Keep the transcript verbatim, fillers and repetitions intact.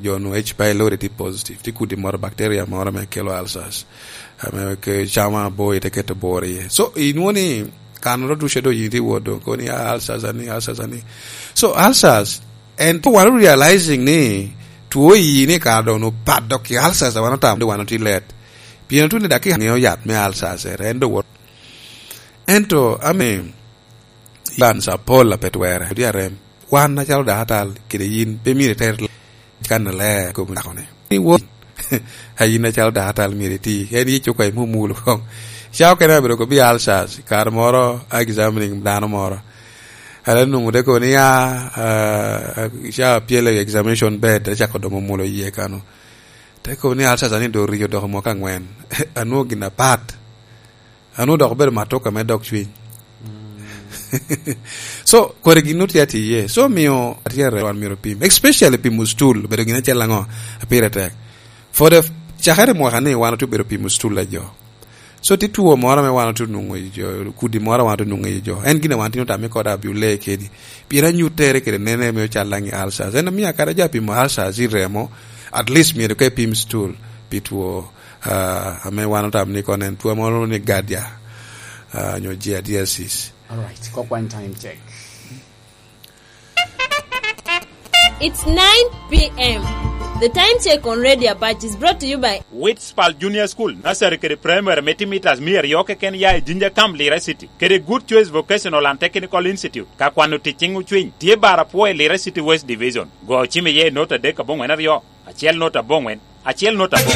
Jo onwoŋo H. pylori tye positive, tye kudi moro, bacteria moro ame kelo ulcers, ame ke camo abor, ite keto bor iye. So, inwoŋo ni kan oro ducu doŋ yin tye wot doŋ, koni, "Ah, ulcers ani, ulcers ani." So, ulcers, and wan realizing ni two ii ni kara doŋ onwoŋo pat dok i ulcers a wan otamo ni wan otye let. Pien otye ni dakika ŋeo yat me ulcers, en doŋ wot. Ento, ame, Evans Apol a pe twere, odi arem. Wan acalo dakatal, kede yin, pe myero iter kan aler kom dako ni. Ni wo, a yin acalo dakatal myero iti, en yi cuka imumulo kong. Ca okene abedo ko bi ulcers, kare moro, a examining dano moro. Ala nungu te ko ni, "Ah, ah, ah, ca apyelo i examination bed," te cako domo mulo iye kano. Te ko ni, "Ulcers ani do riyo doko mwaka angwen." Anwo gin apat. Anu dok obedo matoka me dog cwiny. So, kore gin otye atye iye. So, miyo atye arem wan myero opim. Especially pimo stool, obedo gin acel aŋo, pire tek. For the, cakere mwaka ni wan otye obedo pimo stool a jo. So, tye two moro ame wan otye nwoŋo i jo, kudi moro wan otye nwoŋo i jo. En gin a wan tye otamo i kode abio lee kedi. Pien anyuttere kede nene me ocal laŋ i ulcers. En omio kara jo apimo ulcers i remo, at least myero ka ipim stool, pi two, ah, ame wan otamo ni kono en two moro ni Giardia, ah, nyo giardiasis. All right, kok wan time check. It's nine p m. The time check on Radio Apac is brought to you by Witspal Junior School, Nursery kede Primary me timitas mia aryo keken ya i Jinja Camp, Lira City, kede Good Choice Vocational and Technical Institute. Ka kwano tic ciŋ ocwiny, tye bar apwo i Lira City West Division. Go ocim iye i nota adek aboŋwen aryo, acel nota aboŋwen, acel nota aboŋwen.